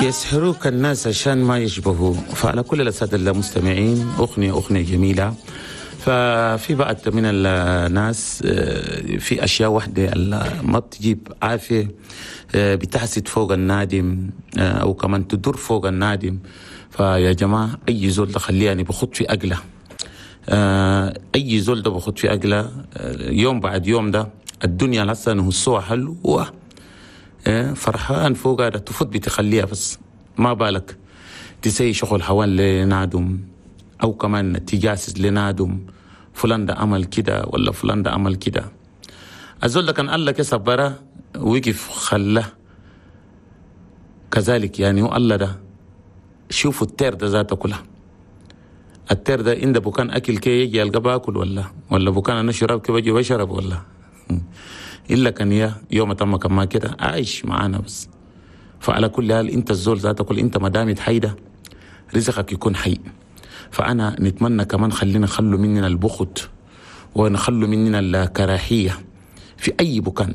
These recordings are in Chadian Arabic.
يسحروك الناس عشان ما يشبهوا. فعلى كل السادة المستمعين، أغنية جميلة. ففي بعض من الناس في أشياء واحدة ما بتجيب عافية، بتحسد فوق النادم أو كمان تدور فوق النادم. فيا جماعة، أي زول ده خليه يعني بخط في أقله، أي زول ده بخط في أقله، يوم بعد يوم ده الدنيا لسه نهصوها حلوة، فرحان فوق هذا تفوت بتخليها، بس ما بالك تسي شغل حوال لنادم أو كمان تجاسس لنادم، فلان ده عمل كده ولا فلان ده عمل كده. الزول ده كان قال لك صبره وقف خله كذلك، يعني هو الله ده شوفوا التير ده ذاته كلها، التير ده عند بكان أكل كي يجي يلقى باكل ولا بكان أنا شرب كي بجي بشرب ولا إلا كان يا يوم تم كما كده عايش معانا بس. فعلى كل حال أنت الزول ذاته كل أنت ما دامت حيدة رزقك يكون حي. فأنا نتمنى كمان خلينا نخلو مننا البخت ونخلو مننا الكراهية في أي بكان.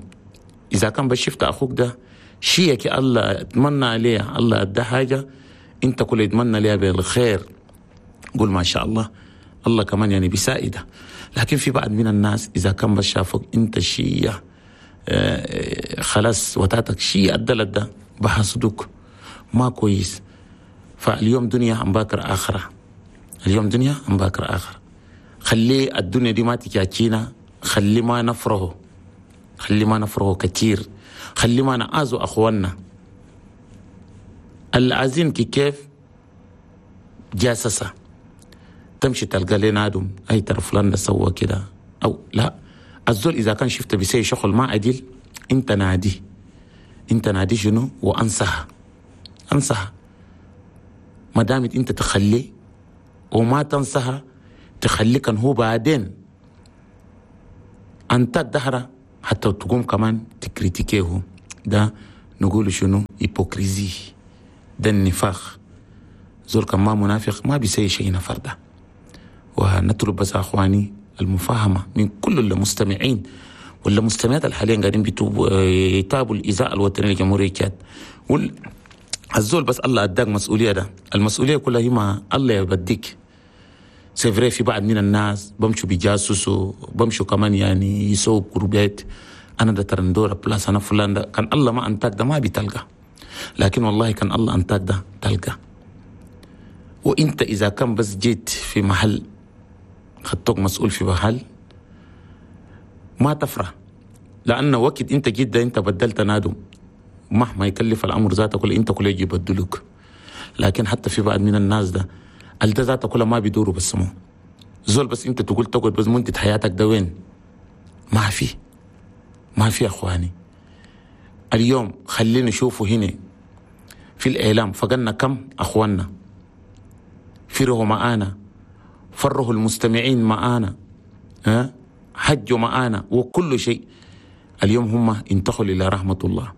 إذا كان بشفت أخوك ده شيك الله اتمنى عليه، الله أدى حاجة أنت كل يتمنى ليها بالخير، قول ما شاء الله، الله كمان يعني بيساعده. لكن في بعض من الناس إذا كان بشافك أنت شيء خلاص وتاتك شيء أدلت ده بحسدك ما كويس. فاليوم دنيا عم باكر آخرة، اليوم دنيا عم باكر آخرة. خلي الدنيا دي ما تجاكينا، خلي ما نفرهه، خلي ما نفرهه كتير، خلي ما نعازو أخواننا العزين كيف جاسسة تمشي تلقى لنا عدم أي ترى فلان ده سوى كده أو لا. الزول إذا كان شفت بيسوي شغل ما عدل أنت نادي، أنت نادي شنو وأنصح، أنصح ما دامت أنت تخليه وما تنصحه تخليه كان هو بعدين أنت الدهرة حتى تقوم كمان تكريتيكيه. ده نقول شنو hypocrisie، ده النفاق. زول كان ما منافق ما بيسوي شيء نفر ده. ونطلب بس أخواني المفاهمة من كل المستمعين والمستمعات اللي حاليا قاعدين يتابوا الإذاعة الوطنية لجمهورية تشاد. الزول بس الله أداك مسؤولية، ده المسؤولية كلها هي ما الله يبديك. c'est vrai في بعض من الناس بمشوا بيجاسسوا، بمشوا كمان يعني يسووا جروبات، أنا ده ترندورة بلاس أنا فلان ده، كان الله ما أنتاك ده ما بتلقى، لكن والله كان الله أنتاك ده تلقى. وإنت إذا كان بس جيت في محل خدتك مسؤول في محل ما تفرح، لأن وقت أنت جيت ده أنت بدلت نادم مهما يكلف الأمر ذاته كل أنت كل يجي يبدلوك. لكن حتى في بعض من الناس ده الده ذاته كله ما بيدوروا بس مو زول، بس أنت تقول تقعد بس منتج حياتك ده وين؟ ما في، ما في أخواني. اليوم خلينا نشوفه هنا في الإعلام فقلنا كم أخواننا فرحوا معانا، فرحوا المستمعين معانا، ها حجوا معانا وكل شيء. اليوم هم انتقلوا إلى رحمة الله.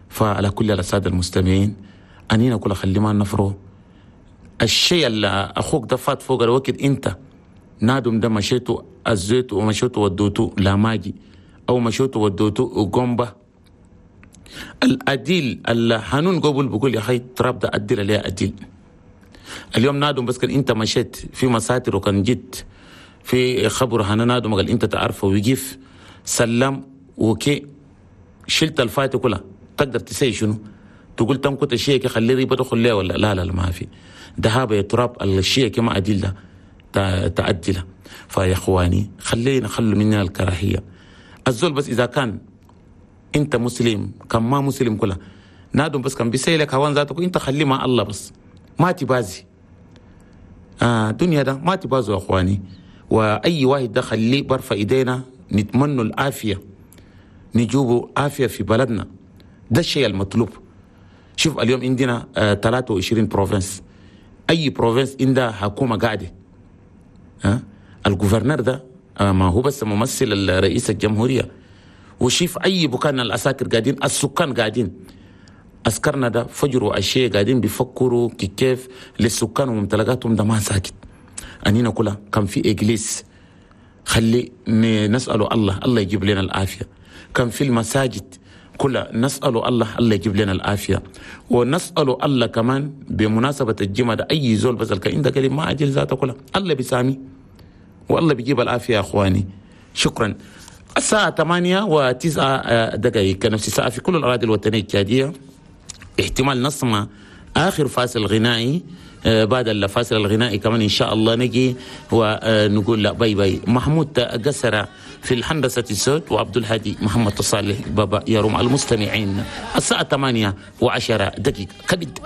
فعلى كل السادة المستمعين أنينا كل خلي ما نفرو الشيء اللي أخوك ده فات فوق الوقت أنت نادم ده مشيتو أزيتو ومشيتو ودوتو لا ماجي أو مشيتو ودوتو وقنبة الأديل الحنون قبل بقول يا خي تراب ده أديل ليه أديل. اليوم نادم بس كان أنت مشيت في مساتر وكان جيت في خبر هنا نادم قال أنت تعرفه ويجيف سلم وكي شلت الفاتة كلها تقدر تسي شنو تقول تم كنت الشيء خلي ريبة تدخل ليه ولا لا لا ما في ذهاب يا تراب الشيء كما أدلة تعدله. فيا اخواني خلينا نخلوا مننا الكراهية. الزول بس إذا كان أنت مسلم كان ما مسلم كلها نادم بس كان بيسيلك هوان ذاتك أنت خليه مع الله بس ما تبازي دنيا ده ما تبازوا يا اخواني. وأي واحد ده خليه برفع إيدينا نتمنى العافية، نجوبوا عافية في بلدنا، ده الشيء المطلوب. شوف اليوم عندنا 23 province، أي province عندها حكومة قاعدة. ال gouverneur ده ما هو بس ممثل رئيس الجمهورية، وشيف أي بكان العساكر قاعدين، السكان قاعدين، عسكرنا ده فجر وعشية قاعدين بيفكروا كيف للسكان وممتلكاتهم ده ما ساكت. أنينا كلها كان في إجليس خلي نسأله الله الله يجيب لنا العافية. كان في المساجد كلها نسأل الله، الله يجيب لنا العافية، ونسأل الله كمان بمناسبة الجمعة ده أي زول بس عندك كلمة ما أجل ذاته كلها، الله بيسامي والله بيجيب العافية يا أخواني. شكرا. الساعة 8:09 نفس الساعة في كل الأراضي الوطنية التشادية. احتمال نسمع آخر فاصل غنائي، بعد الفاصل الغنائي كمان إن شاء الله نجي ونقول لا bye bye. محمود قسرة في الهندسة الصوت، وعبد الهادي محمد صالح بابا يروم المستمعين. الساعة 8:10 كبد.